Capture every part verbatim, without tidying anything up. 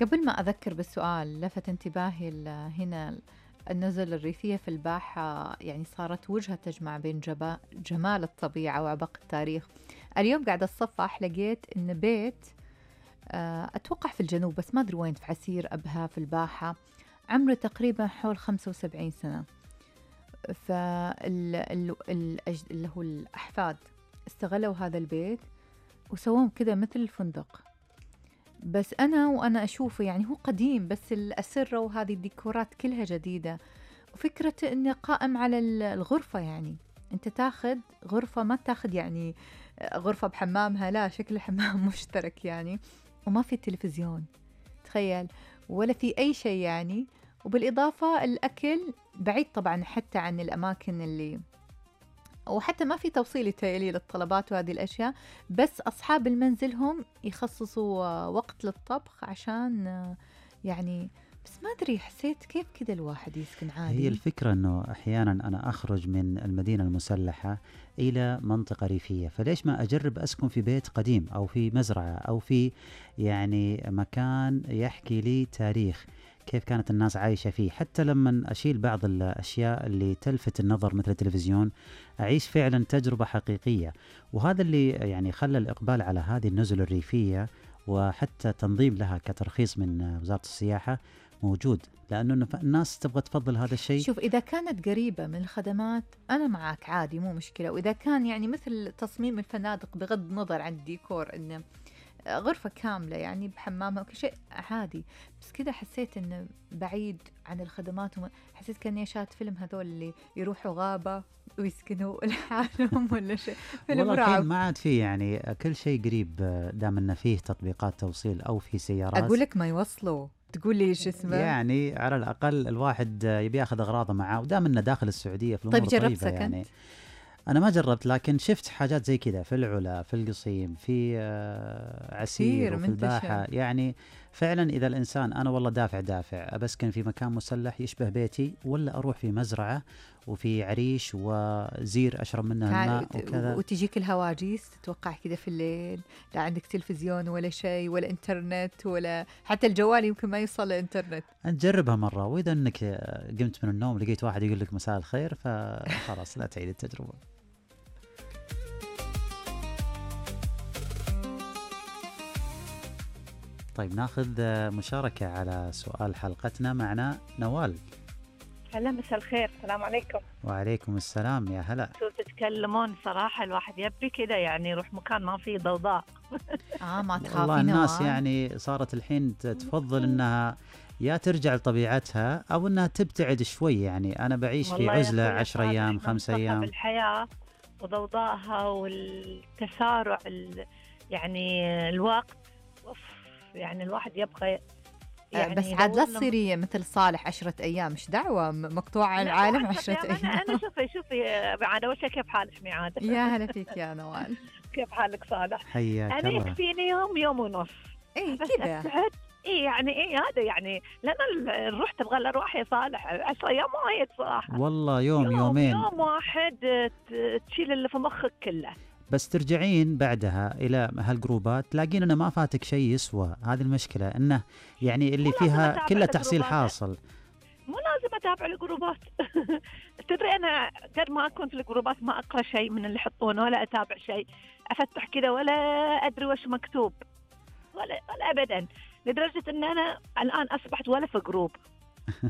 قبل ما أذكر بالسؤال لفت انتباهي ال- هنا النزل الريفية في الباحة، يعني صارت وجهة تجمع بين جبا جمال الطبيعة وعبق التاريخ. اليوم قاعدة أتصفح لقيت إن بيت، آه، أتوقع في الجنوب بس ما أدري وين، في عسير أبها في الباحة، عمره تقريبا حول خمسة وسبعين سنة. فال ال- ال- الأج- اللي هو الأحفاد استغلوا هذا البيت وسووه كذا مثل الفندق. بس أنا وأنا أشوفه يعني هو قديم، بس الأسرة وهذه الديكورات كلها جديدة، وفكرة إنه قائم على ال- الغرفة، يعني أنت تاخذ غرفة، ما تاخذ يعني غرفة بحمامها، لا، شكل حمام مشترك يعني، وما في تلفزيون تخيل، ولا في أي شيء يعني. وبالإضافة الأكل بعيد طبعا حتى عن الأماكن اللي، وحتى ما في توصيل يتهيألي للطلبات وهذه الأشياء، بس أصحاب المنزل هم يخصصوا آه، وقت للطبخ عشان آه، يعني، بس ما أدري، حسيت كيف كذا الواحد يسكن هي عادي. الفكرة أنه أحيانا أنا أخرج من المدينة المسلحة إلى منطقة ريفية، فليش ما أجرب أسكن في بيت قديم أو في مزرعة أو في يعني مكان يحكي لي تاريخ، كيف كانت الناس عايشة فيه. حتى لما أشيل بعض الأشياء اللي تلفت النظر مثل التلفزيون، أعيش فعلا تجربة حقيقية. وهذا اللي يعني خلى الإقبال على هذه النزل الريفية وحتى تنظيم لها كترخيص من وزارة السياحة موجود، لأنه الناس تبغى تفضل هذا الشيء. شوف، إذا كانت قريبة من الخدمات أنا معك عادي، مو مشكلة. وإذا كان يعني مثل تصميم الفنادق بغض النظر عن الديكور، إنه غرفة كاملة يعني بحمامها وكل شيء عادي، بس كذا حسيت إنه بعيد عن الخدمات، وما حسيت كأني شاهدت فيلم هذول اللي يروحوا غابة ويسكنوا لحالهم ولا شيء، فيلم والله الحين رعب. ما عاد فيه، يعني كل شيء قريب دام انه فيه تطبيقات توصيل او في سيارات. أقول لك ما يوصلوا، تقول لي إيش اسمه؟ يعني على الاقل الواحد يبي ياخذ اغراضه معاه، ودام انه داخل السعوديه في طيب الامور جربت طيبه سكنت؟ يعني. انا ما جربت، لكن شفت حاجات زي كذا في العلا، في القصيم، في آه، عسير، كثير وفي منتشر. الباحه. يعني فعلا اذا الانسان انا والله دافع دافع ابسكن في مكان مسلح يشبه بيتي، ولا اروح في مزرعه وفي عريش وزير اشرب منه تعال الماء وت- وكذا. وتجيك الهواجيس، تتوقع كذا في الليل، لا عندك تلفزيون ولا شيء ولا انترنت، ولا حتى الجوال يمكن ما يوصل للإنترنت. نجربها مرة، وإذا أنك قمت من النوم لقيت واحد يقول لك مساء الخير، فخلاص لا تعيد التجربة. طيب ناخذ مشاركة على سؤال حلقتنا. معنا نوال. هلا، مساء الخير، السلام عليكم. وعليكم السلام، يا هلا. شو تتكلمون؟ صراحة الواحد يبي كذا يعني يروح مكان ما فيه ضوضاء. آه، ما والله تخافي الناس نوال؟ يعني صارت الحين تفضل أنها يا ترجع لطبيعتها أو أنها تبتعد شوي. يعني أنا بعيش في والله يا عزلة أخوي عشر صالح، أيام من خمس صخب أيام الحياة وضوضائها والتسارع ال... يعني الوقت، أوف، يعني الواحد يبغى آه، يعني بس عاد لا يدور لم... تصيري مثل صالح عشرة أيام، مش دعوة، م- مقطوعة عن لا، العالم عشرة عشرة أيام. أنا أنا أيام. شوفي شوفي عاد أول شيء، كيف حالك ميعاد؟ يا هلا فيك يا نوال. كيف حالك صالح؟ حياك أنا الله. يكفيني يوم يوم ونص إيه بس كذا. ابتعد. اي يعني ايه هذا يعني، لان ال- الروح تبغى لها روح يا صالح. عشر ايام وايد صراحه. والله يوم يوم يومين يوم واحد ت- تشيل اللي في مخك كله. بس ترجعين بعدها إلى هالجروبات تلاقين أنه ما فاتك شيء يسوى. هذه المشكلة، أنه يعني اللي مو لازم فيها اتابع كله تحصيل الجروبات، حاصل. مو لازم اتابع الجروبات. تدري انا قد ما اكون في الجروبات ما اقرا شيء من اللي يحطونه ولا اتابع شيء، افتح كذا ولا ادري وش مكتوب ولا ولا ابدا، لدرجه ان انا الان اصبحت ولا في جروب.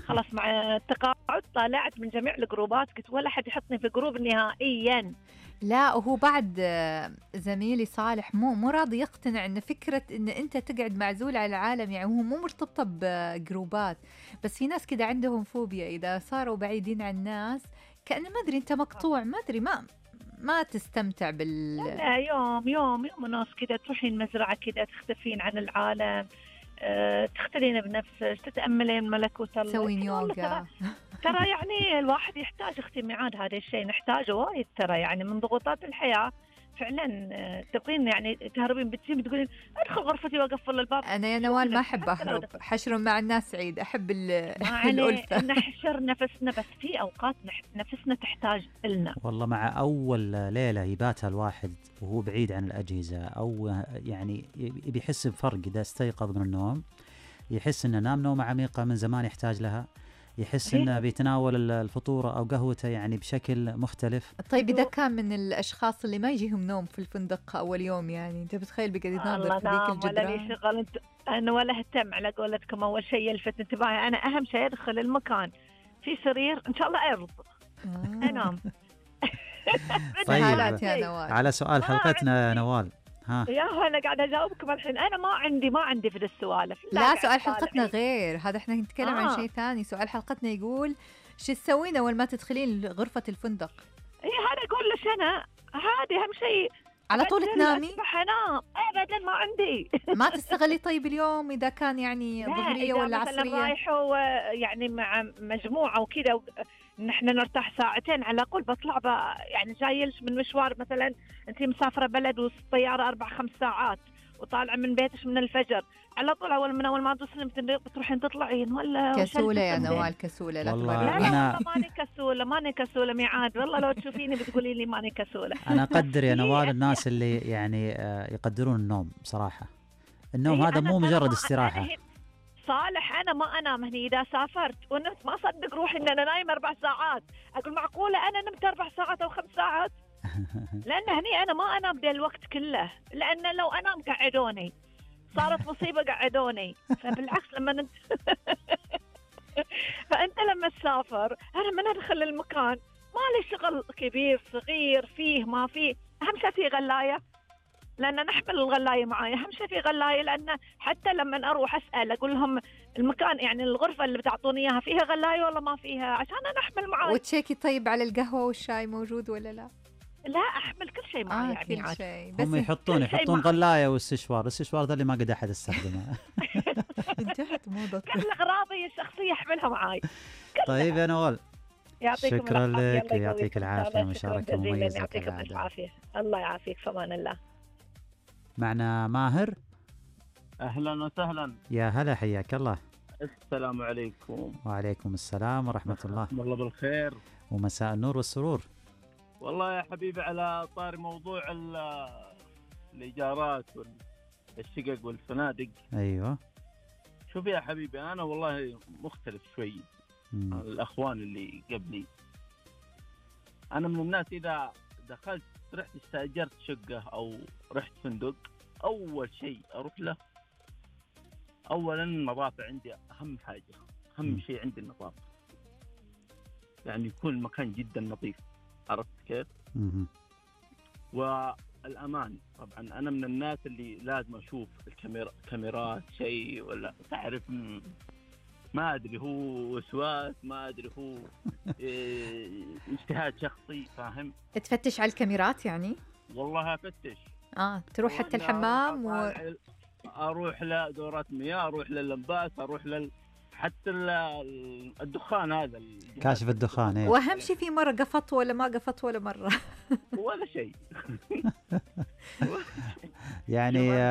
خلاص مع التقاعد طالعت من جميع الجروبات، قلت ولا حد يحطني في جروب نهائيا. لا، وهو بعد آه، زميلي صالح مو مو راضي يقتنع ان فكرة ان انت تقعد معزول على العالم، يعني هو مو مرتبطة بجروبات، بس في ناس كده عندهم فوبيا اذا صاروا بعيدين عن الناس، كأنه ما ادري انت مقطوع، ما ادري، ما ما تستمتع بال. لا، يوم يوم يوم ونص كذا تروحين مزرعة كذا، تختفين عن العالم، أه تختلين بنفسك، تتأملين ملكوت الله. تسوين والله ترى يوغا. ترى يعني الواحد يحتاج اختي ميعاد، هذا الشيء نحتاجه وايد ترى، يعني من ضغوطات الحياة فعلا. آه، تبغين يعني تهربين، بتجين بتقولين ادخل غرفتي واقفل الباب. انا يا نوال ما شلونك؟ احب حتى لو اهرب، دخل- حشر مع الناس سعيد، احب ال- ما عليه الألفة. نحشر نفسنا، بس في اوقات نح- نفسنا تحتاج لنا. والله مع أول ليلة يباتها الواحد وهو بعيد عن الأجهزة، أو يعني بيحس بفرق إذا استيقظ من النوم، يحس انه نام نومه عميقه من زمان يحتاج لها، يحس انه بيتناول الفطوره او قهوته يعني بشكل مختلف. طيب اذا كان من الاشخاص اللي ما يجيهم نوم في الفندق اول يوم، يعني انت بتخيل بيقعد يناظر في ذيك ولا لي الجدران. شغل انت انا ولا اهتم على قولتكم. اول شيء يلفت انتباهي انا اهم شيء ادخل المكان في سرير ان شاء الله ارض آه. انام. طيب حالات يا نوال. على سؤال حلقتنا يا نوال، ها يا هو انا قاعده اجاوبكم الحين. انا ما عندي ما عندي في السوالف. لا سؤال حلقتنا غير هذا، احنا نتكلم آه. عن شيء ثاني. سؤال حلقتنا يقول شو تسوين اول ما تدخلين غرفة الفندق؟ اي هذا اقول لك انا عادي اهم شيء على طول تنامي؟ اصبح انام ابدا ما عندي. ما تستغلي طيب اليوم اذا كان يعني ظهرية ولا عصرية؟ رايحوا يعني مع مجموعة وكذا نحن نرتاح ساعتين على الأقل، بطلع يعني جايلش من مشوار، مثلا أنت مسافرة بلد والطيارة أربع خمس ساعات وطالعة من بيتش من الفجر، على طول أول من أول ما توصلين بتروحين تطلعين ولا كسولة يا نوال كسولة. لا والله تبرري. لا أنا- لا والله ماني كسولة ماني كسولة ميعاد، والله لو تشوفيني بتقولي لي ماني كسولة. انا اقدر يا نوال الناس اللي يعني آه، يقدرون النوم بصراحه. النوم إيه هذا أنا- مو أنا مجرد ما- استراحه. أنا هي- صالح أنا ما أنام هني إذا سافرت ونمت ما أصدق روحي إن أنا نايمة أربع ساعات. أقول معقولة أنا نمت أربع ساعات أو خمس ساعات؟ لأن هني أنا ما أنام ذا الوقت كله، لأن لو أنام قعدوني، صارت مصيبة قعدوني. فبالعكس لما ننت... فأنت لما تسافر أنا من أدخل المكان ما لي شغل كبير صغير فيه ما فيه، أهم شيء في غلاية، لأن نحمل الغلاية معايا. أهم شيء في غلاية، لأن حتى لما أروح أسأل أقول لهم المكان يعني الغرفة اللي بتعطوني إياها فيها غلاية ولا ما فيها، عشان أنا أحمل معاي. وتشيكي طيب على القهوة والشاي موجود ولا لا؟ لا أحمل كل شيء معاي آه يعني كل عاد. شيء. بس هم يحطون كل شيء يحطون مع- غلايه واستشوار، الاستشوار ذا اللي ما قد احد استخدمه. انتهت موضة. كل أغراضي الشخصية أحملها معاي. طيب يا نوال، يعطيكم شكراً العافية. لك، الله يعطيك يقويكم. العافية، شكراً مشاركة جزيلاً. مميزة يعطيكم كالعادة. العافية. الله يعافيك في أمان الله. معنا ماهر. أهلا وسهلا. يا هلا، حياك الله. السلام عليكم. وعليكم السلام ورحمة الله والله بالخير. ومساء النور والسرور. والله يا حبيبي على طاري موضوع ال- الإيجارات والشقق والفنادق، ايوه. شوف يا حبيبي أنا والله مختلف شوي مم. عن الأخوان اللي قبلي. أنا من الناس إذا دخلت رحت استأجرت شقة أو رحت فندق، أول شيء أروح له أولا النظافة عندي أهم حاجة. أهم م. شيء عندي النظافة، يعني يكون المكان جدا نظيف، عرفت كيف؟ مم. والأمان طبعا. أنا من الناس اللي لازم أشوف الكاميرا كاميرات شيء ولا تعرف، م- ما أدري هو وسواس، ما أدري هو إيه، اجتهاد شخصي، فاهم؟ تفتش على الكاميرات يعني؟ والله أفتش. اه تروح حتى ولا الحمام و... أطالع- أروح لدورات مياه، أروح لللمباس، أروح لل حتى ال- الدخان هذا الجهاز كاشف الدخان، ايه. واهم شيء في مرة قفط ولا ما قفط ولا مرة. ولا شيء. يعني